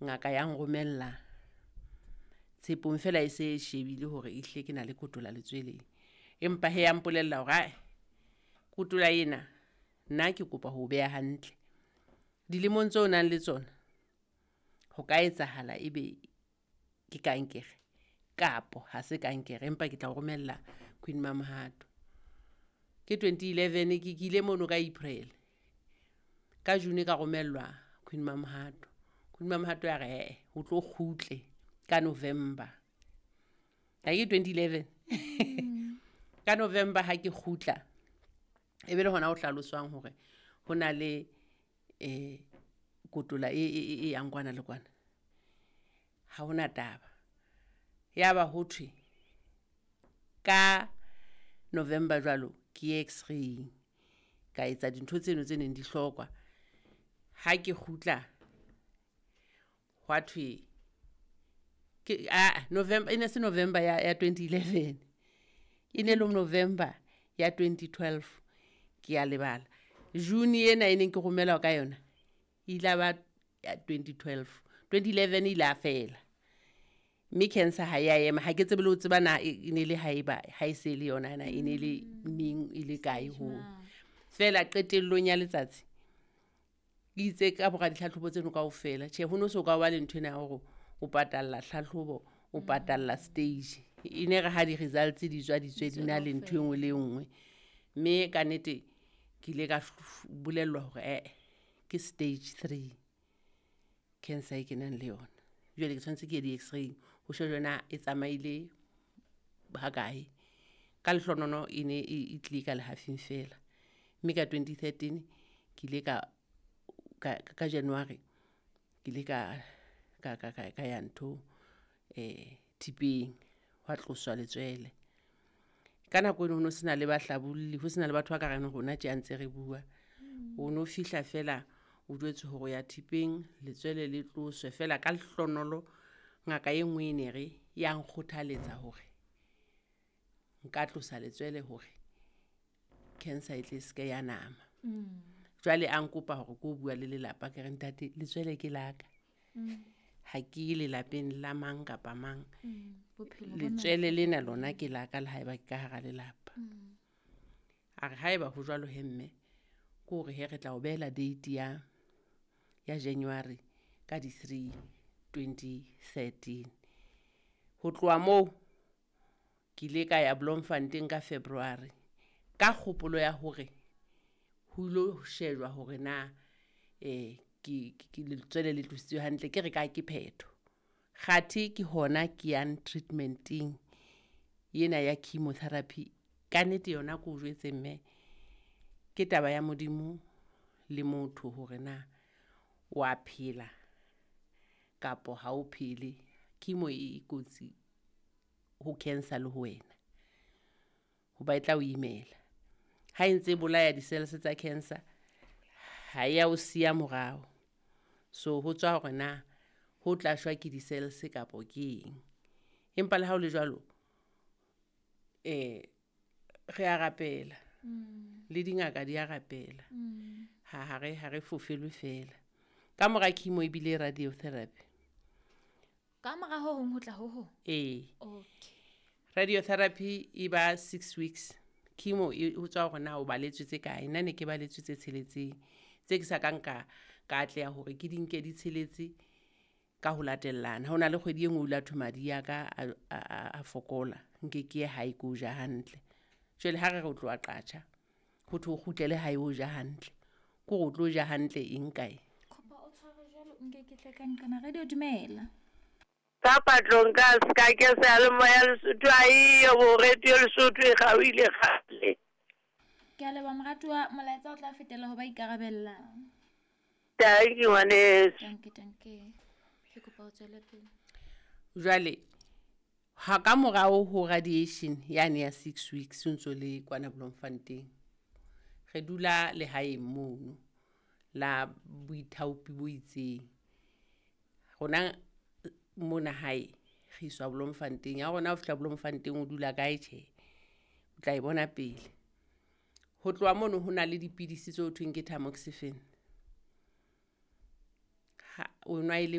Ngaka ya nromella Tshepong fela e se e shebile hore ehlile ke na le kotola letsweleng. Empa he ya mpolella hore ae kotola ena nna ke kopa ho beha hantle. Dilemong tseo o nang le tsona, ho ka etsahala ebe ke kankere kapo ha se kankere empa ke tla o romella Queen Mamohato. Ke 2011 ke ile mono ka April. Ka June ka romellwa Queen Mamohato. Queen Mamohato ya re ee o tlo kgutle ka November. Ha ke 2011. Ka November ha ke kgutla e be le hona ho hlaloswang hore ho na le kotola e yang kwana le kwana. Ha hona taba. Ya ba ho thwe ka November jwalo ke ye x-ray ka etsa dintho tseno tse neng di hlokwa. Ha ke kgutla hwa thwe ke a November e ne se November ya 2011. E ne le November ya 2012 ke ya lebala. June ena e neng ke romelwa ka yona e ile ba ya 2012. 2011 ile a fela. Mme cancer ha ya ema ha ke tsebe le ho tseba na e ne le haeba ha e se le yona na e ne le neng e le kae ho. Fela qetellong ya letsatsi ke itse ka mora ditlhatlhobo tseno kaofela tjhe ho no so ka ba le ntho ena ya hore o patalla tlhatlhobo o patalla stage. E ne re ha di-results di tswa di tswe di na le ntho e nngwe le e nngwe. Mme ka nnete ke ile ka bolellwa hore ee ke stage 3 cancer e ke nang le yona. Jwale ke tshwanetse ke ye di-x-ray ho shejwe na e tsamaile ha kae. Ka lehlonono e ne e tlile ka lehafing fela. Mme ka 2013 ke ile ka January ke ile ka ya ntho thipeng hwa tloswa letswele. Ka nako eno ho no sena le bahlabolli, ho sena le batho ba ka reng rona tje a ntse re bua. O no fihla fela o jwetswe hore o ya thipeng letswele le tloswe fela ka lehlonolo ngaka e nngwe e ne re ya nkgothaletsa hore nka tlosa letswele hore cancer e tle se ke ya nama. Jwale a nkopa hore ko bua le lelapa ke re ntate letswele ke la ka. Ha ke lelapeng la mang kapa mang. Letswele lena lona ke la ka le haeba ke ka hara lelapa. A re haeba ho jwalo he mme ke hore he re tla o behela date ya January ka di 3 2013. Ho tloha moo ke ile ka ya Bloemfontein ka February ka kgopolo ya hore ho ilo shejwa hore na ke letswele le tlositswe hantle ke re ka ke phetho. Kgathe ke hona ke yang treatmenteng ena ya chemotherapy. Ka nnete yona ke o jwetse mme ke taba ya Modimo le motho hore na wa phela kapo ha o phele. Chemo e kotsi ho cancer le ho wena hoba e tla o imela. Ha e ntse e bolaya di-cells tsa cancer ha ya o siya morao. So ho tswa hore na ho tla shwa ke di-cells kapo ke eng. Empa le ha o le jwalo re a rapela. Le dingaka di a rapela. Ha re fofelwe fela. Ka mora chemo ebile radiotherapy. Ka mora ho hong ho tla ho hong? Ee. Okay. Radiotherapy e ba 6 weeks. Chemo e ho tswa hore na o baletswe tse kae. Nna ne ke baletswe tse tsheletseng. Tse ke sa kang ka atleha hore ke di nke di tsheletse ka ho latellana. Ho na le kgwedi e nngwe o ile a thwe madi a ka a fokola. Nke ke ye hae ke o ja hantle. Jwale ha re re o tloha qatjha, ho thwe o kgutlele hae o ja hantle. Ke hore o tlo ja hantle eng kae? Kopa o tshware jwalo nke ke tle ka nqena radio dumela. Ka patlong ka ska ke seyalemoya Lesotho a eyo bo radio Lesotho e kgaohile kgale. Ke a leboha moratuwa, molaetsa o tla fetela ho ba ikarabellang. Thank you ngwaneso. Danke, danke. Ke kopa o tswele pele. Jwale ha ka morao ho radiation yane ya 6 weeks o ntso le kwana Bloemfontein. Re dula lehaeng mono la boithaopi bo itseng. Rona mona hae re iswa Bloemfontein. Ya rona ho fihla Bloemfontein o dula kae tjhe? O tla e bona pele. Ho tloha mono ho na le dipidisi tse ho thweng ke tamoxifen. Ha o nwa e le